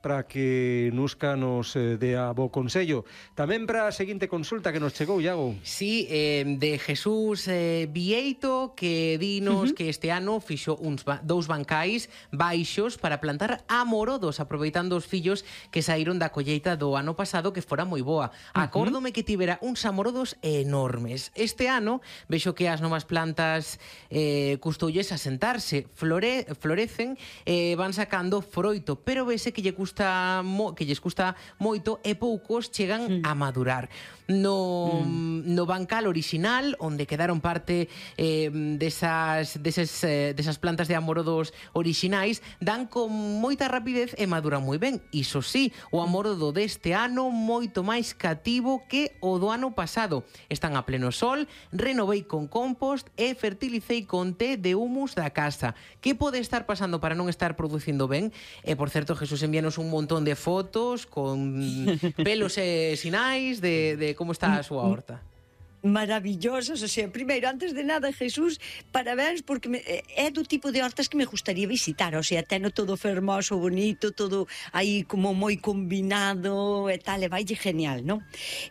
para que Nusca nos dea bo consello. Tamén para a seguinte consulta que nos chegou, Iago. Sí, de Jesús Vieito, que dinos que este ano fixo dous bancais baixos para plantar amorodos, aproveitando os fillos que saíron da colleita do ano pasado, que fora moi boa. Acórdome que tivera uns amorodos enormes. Este ano vexo que as novas plantas custoulles asentarse, florecen, van sacando froito, pero vese que lles custa moito e poucos chegan a madurar. No bancal orixinal, onde quedaron parte desas plantas de amorodos orixinais, dan con moita rapidez e maduran moi ben. Iso sí, o amorodo deste ano moito máis cativo que o do ano pasado. Están a pleno sol, renovei con compost e fertilicei con té de humus da casa. Que pode estar pasando para non estar producindo ben? E, por certo, Jesús envíanos un montón de fotos con pelos e sinais de como está a súa horta. Maravillosas, o sea, primeiro, antes de nada, Jesús, parabéns, porque é do tipo de hortas que me gustaría visitar, o sea, teno todo fermoso, bonito, todo aí como moi combinado e tal, e vaille genial, non?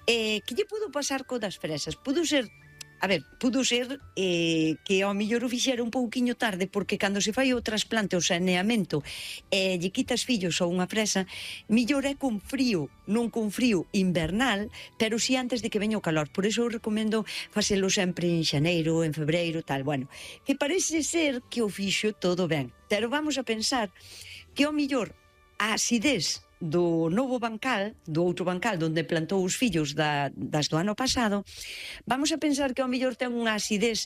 Que lle pudo pasar co das fresas? Pudo ser que ao mellor o fixera un pouquiño tarde, porque cando se fai o trasplante, o saneamento, lle quitas fillos a unha fresa, mellor é con frío, non con frío invernal, pero si antes de que veña o calor. Por iso eu recomendo facelo sempre en xaneiro, en febreiro, tal. Bueno, que parece ser que o fixo todo ben, pero vamos a pensar que ao mellor a acidez do novo bancal, do outro bancal onde plantou os fillos das do ano pasado, vamos a pensar que ao mellor ten unha acidez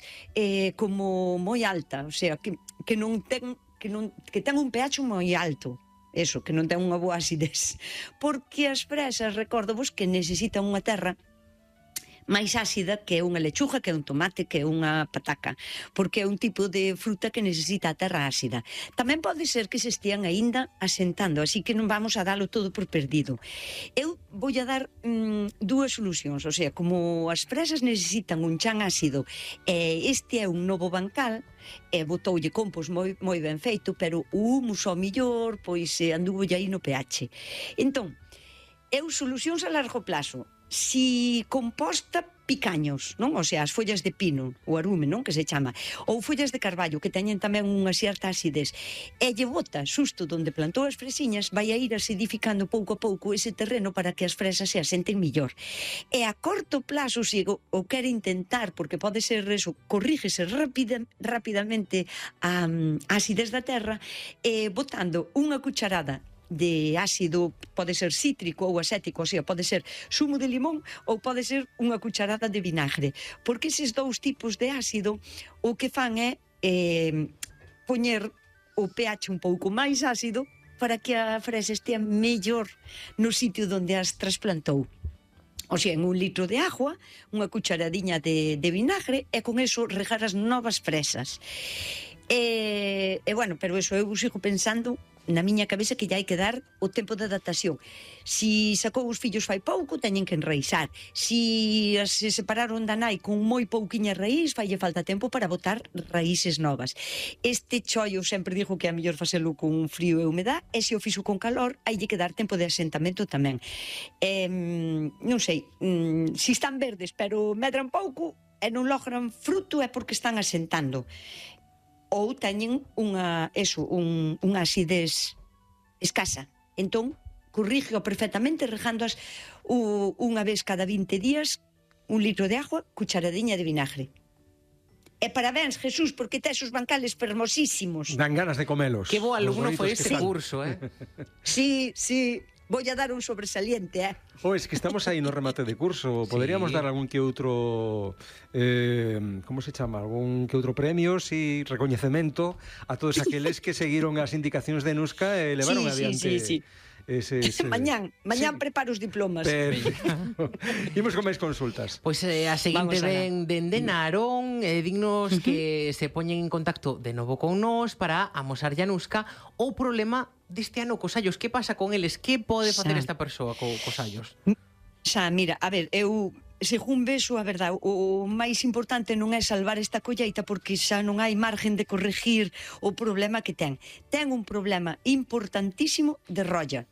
como moi alta, o sea, que ten un pH moi alto. Eso, que non ten unha boa acidez. Porque as fresas, recórdovos que necesitan unha terra máis ácida que é unha lechuga, que é un tomate, que é unha pataca, porque é un tipo de fruta que necesita a terra ácida. Tamén pode ser que se estean aínda asentando, así que non vamos a dalo todo por perdido. Eu vou a dar dúas solucións, o sea, como as fresas necesitan un chan ácido, este é un novo bancal, e botoulle compost moi ben feito, pero o humus ao millor, pois anduvo aí no pH. Entón, eu solucións a largo plazo. Si composta picaños, non? O sea, as follas de pino, o arume, non? Que se chama. Ou follas de carballo, que teñen tamén unha certa acidez. E lle bota xusto onde plantou as fresiñas, vai a ir acidificando pouco a pouco ese terreno para que as fresas se asenten millor. E a corto plazo, se o quere intentar, porque pode ser eso, corrígese rapidamente a acidez da terra, botando unha cucharada de ácido, pode ser cítrico ou acético, o sea, pode ser zumo de limón ou pode ser unha cucharada de vinagre, porque eses dous tipos de ácido o que fan é poñer o pH un pouco máis ácido para que a fresa estea mellor no sitio onde as trasplantou. O sea, en 1 litro de agua, unha cucharadiña de vinagre, e con eso regar as novas fresas. Bueno, pero eso eu sigo pensando na miña cabeza que lle hai que dar o tempo de adaptación. Si sacou os fillos fai pouco, teñen que enraizar. Si se separaron da nai con moi pouquiña raíz, faille falta tempo para botar raíces novas. Este chollo sempre digo que é mellor facelo con frío e humedad, e se o fixo con calor, haille que dar tempo de asentamento tamén. Non sei, si están verdes pero medran pouco e non logran fruto, é porque están asentando. Ou teñen unha acidez escasa. Entón, corrígeo perfectamente regándoas unha vez cada 20 días, 1 litro de agua, cucharadiña de vinagre. E parabéns, Jesús, porque tes os bancales fermosísimos. Dan ganas de comelos. Que bo alumno foi este curso, Sí, vou a dar un sobresaliente, Es que estamos aí no remate de curso. Poderíamos dar algún que outro como se chama? Algún que outro premio, recoñecemento a todos aqueles que seguiron as indicacións de Nusca e levaron adiante. Sí. Mañán preparo os diplomas. Imos con máis consultas. Pois a seguinte ven dende Narón, dignos que se poñen en contacto de novo con nós para amosar a Nusca o problema deste ano cos allos. Que pasa con eles? Que pode facer esta persoa cos allos? Xa, mira, a ver, eu según vexo, a verdade, o máis importante non é salvar esta colleita, porque xa non hai margen de corregir o problema que ten. Ten un problema importantísimo de rolla.